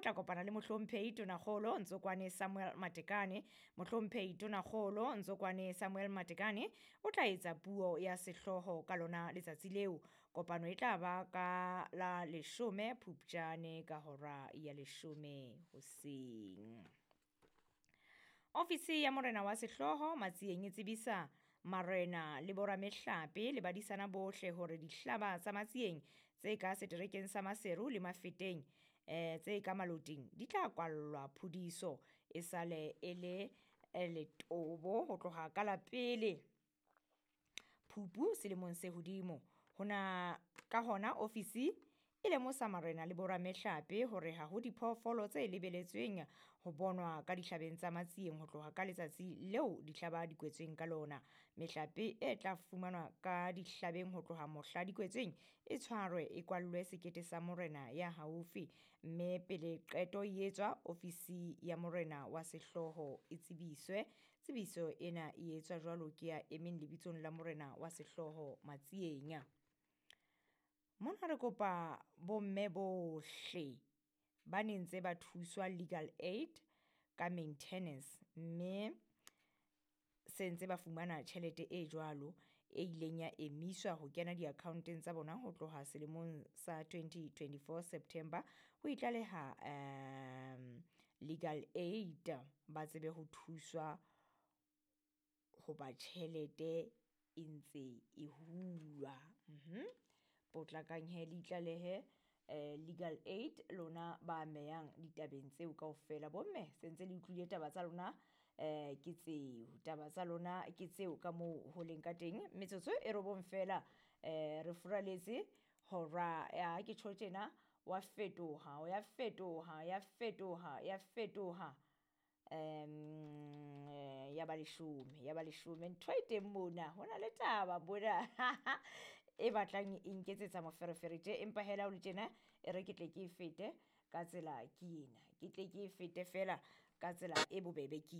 tla kopana le Mohlomphehi Tonakgolo Ntsokwane Samuel Matekane. Mohlomphehi Tonakgolo Ntsokwane Samuel Matekane o tla etsa puo ya sehlooho ka lona letsatsi leo. Kopano e tla ba ka la 10 Phupjane ka hora ya 10 hoseng. Ofisi ya Morena wa Sehlooho Matsieng e tsebisa marena le boramehlape le badisana bohle hore dihlaba tsa Matsieng tse ka seterekeng sa Maseru le Mafeteng tse ka Maloting di tla kwallwa phudiso e sale e le letobo ho tloha ka la pele Phupu selemong se hodimo. Hona ka hona ofisi e lemosa marena le boramehlape hore ha ho diphoofolo tse lebeletsweng ho bonwa ka dihlabeng tsa Matsieng ho tloha ka letsatsi leo dihlaba di kwetsweng ka lona. Mehlape e tla fumanwa ka dihlabeng ho tloha mohla di kwetsweng e tshwarwe e kwallwe sekete sa morena ya haufi, mme pele qeto e etswa ofisi ya morena wa sehlooho e tsebiswe. Tsebiso ena e etswa jwalo ke ya emeng lebitsong la morena wa sehlooho Matsieng. Mona re kopa bomme bohle ba ne ntse ba thuswa legal aid ka maintenance, mme se ntse ba fumana tjhelete e jwalo e ileng ya emiswa ho kena di-account-eng tsa bona ho tloha selemong sa 2024 September ho itlaleha legal aid ba tsebe ho thuswa hoba tjhelete e ntse e hulwa. Potlakang he le itlalehe legal aid lona ba amehang ditabeng tseo kaofela. Bomme se ntse le utlwile taba tsa lona ke tseo, taba tsa lona ke tseo ka moo ho leng ka teng. Metsotso e 9 fela re furaletse hora ya ke tjho tjena wa fetoha, ya fetoha, ya fetoha, ya fetoha ya ba 10, ya ba 10. Ntho e teng mona, hona le taba mona e batlang e nketsetsa moferefere tje, empa hela ho le tjena e re ke tle ke e fete ka tsela ke ena, ke tle ke e fete fela ka tsela e bobebe ke.